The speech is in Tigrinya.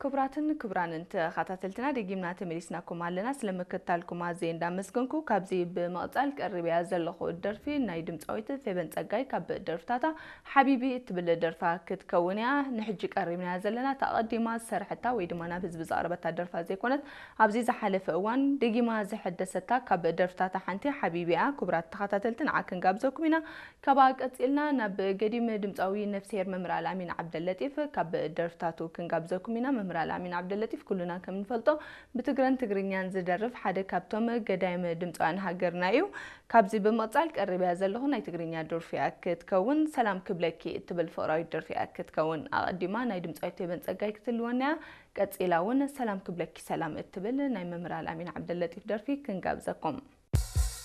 ክቡራትን ክቡራንን ተኸታተልትና፣ ደጊምና ተመሊስናኩም ኣለና። ስለምክትታልኩም ኣዝየ እንዳመስገንኩ፣ ካብዚ ብምቕጻል ቀሪበያ ዘለኹ ደርፊ ናይ ድምጻዊት ፌበን ጸጋይ ካብ ደርፍታታ ሓቢቢ እትብል ደርፋ ክትከውን እያ። ንሕጂ ቀሪብናያ ዘለና፣ እታ ኣቐዲማ ዝሰርሐታ ወይ ድማ ናብ ህዝቢ ዘቕረበታ ደርፋ ዘይኮነት፣ ኣብዚ ዝሓለፈ እዋን ደጊማ ዝሐደሰታ ካብ ደርፍታታ ሓንቲ ሓቢቢ እያ። ክቡራት ተኸታተልቲ፣ ንዓ ክንጋብዘኩም ኢና። ካብኣ ቀጺልና ናብ ገዲም ድምጻዊ ነፍስሄር መምህር ኣልኣሚን ዓብደለጢፍ ካብ ደርፍታቱ ክንጋብዘኩም ኢና። መምህር ኣልኣሚን ዓብደለጢፍ ኩልና ከም ንፈልጦ ብትግረን ትግርኛን ዝደርፍ ሓደ ካብቶም ገዳይም ድምጻውያን ሃገርና እዩ። ካብዚ ብምቕጻል ቀሪበያ ዘለኹ ናይ ትግርኛ ደርፊ እያ ክትከውን። ሰላም ክብለኪ እትብል ፍቕራዊት ደርፊ እያ ክትከውን። ኣቐዲማ ናይ ድምጻዊት ፌበን ጸጋይ ክትልወና እያ። ቀጺላ እውን ሰላም ክብለኪ ሰላም እትብል ናይ መምህር ኣልኣሚን ዓብደለጢፍ ደርፊ ክንጋብዘኩም።